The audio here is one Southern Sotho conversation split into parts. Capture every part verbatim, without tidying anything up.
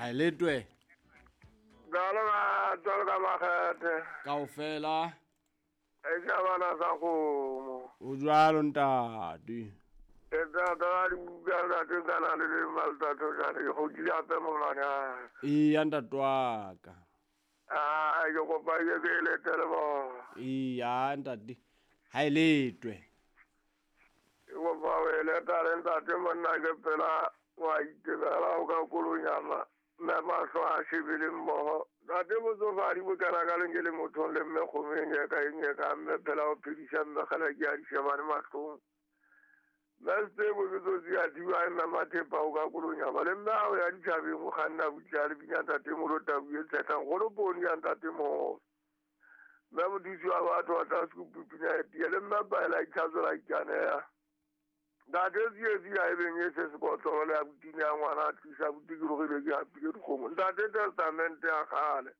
Ha e letwe. Jalo ka jalo ka makgethe. Kaofela. E shabana sa kgomo. O jwalo ntate. E tata ga dibuka ntate kana le le maltato jane go kile ape molwane a. Eya ntate wa ka. Ah, ke kopa ke ke letele bo. Eya ntate. Ha e letwe. Ke kopa o e letele ntate monna ke pela wa itebela o ka kolonyama. Mme mahlo a shebile mmoho. Ntate motsofadi bo kana ka leng ke le mothong le mme kgomeng e ka eng e ka mme phela o phedisa mme kgale ke a di shebane mahlong. Mme sebo ke tsotsi a thiba mme mathepa o ka kolonyama le mme ao ya ditjhabeng o kganna butle a le bina ntate molo tau e tshetlang kgolo poone ya ntate moholo. Mme mothusi wa batho wa tlase ko pupina e tiya le mme paela itlhatsola ikaneya. Ntate tsietsi a e beng e se sekotlolo le abuti ya ngwana a tlisa abuti ke rogile ke hapile dikgomo. Ntate testamente ya kgale.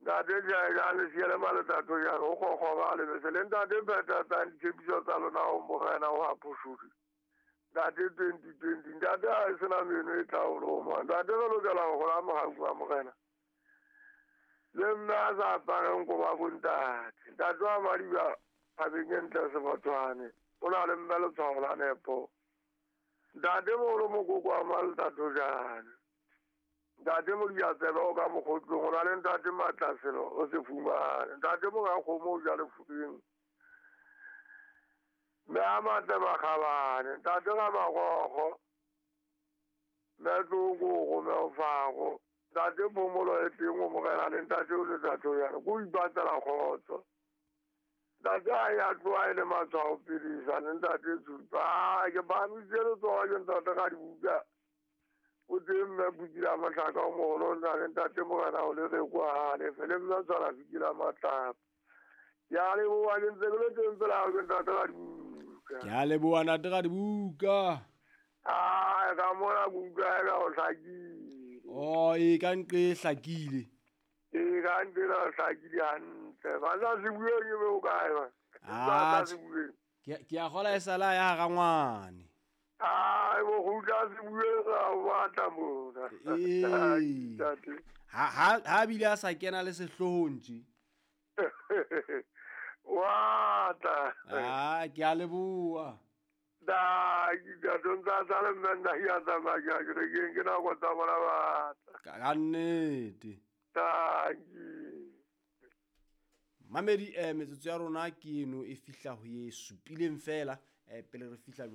Ntate jane siele maletato jane o kgokgoba le bese le ntate phethatsang ditshepiso tsa lona ho morena wa phoshodi. Ntate twenty twenty ntate ha e sena meno e tla o loma. Ntate re lokela ho hola mohau wa morena. Le mme a sa apareng koba bontate. Ntate wa Madiba thabeng e ntle Sebathwane. O na le mme letshwao la nepo. Ntate moholo mokoko wa maletato jane. Ntate Modiatsebe o ka mokgotlong o na le ntate Matlaselo o se fumane. Ntate monga kgomo o ja lefubeng. Mme a matle makgabane. Ntate ga magogo. Mme tlokoko mme o fago. Ntate phomolo e teng o morena le ntate o letato jane. Ko ipatlela kgotso. Ntate a ya tloha e le matshwao phedisa le ntate Tshupa. Ke phahamisitse letsoho ke ntate ga dibuka. O teng mme Putila Mahlaka o moholo o na le ntate morena o le reko ha lefe le mme tshwana Fikile Matlapa. Ke a leboha ke ntse ke le teng pela hao ke ntate ga dibuka. Ke a leboha ntate ga dibuka. Ah, ka mona ke utlwa eka o hlakile. Oh, e ka nqe e hlakile. E ka nqe e hlakile hantle. Ba sa se bueng e be o kae ba? Ah, Ba sa se bueng. Ke ke a kgola e sala ya rangwane. Ah, bo kgutla se bueng ra o batla mona. Ee. Ntate. Ha ha ha bile a sa kena le sehlohong tje. Wa tla. Ah, ke a leboha. Da, ke tla tsa tsa le mme nna ya tsamaya ke ya kerekeng, ke nako tsa bona batla. Ka ka nnete. Dankie. Mamedi eh metsotso ya rona ke eno e fihla ho ye supileng fela eh pele re fihla jwale.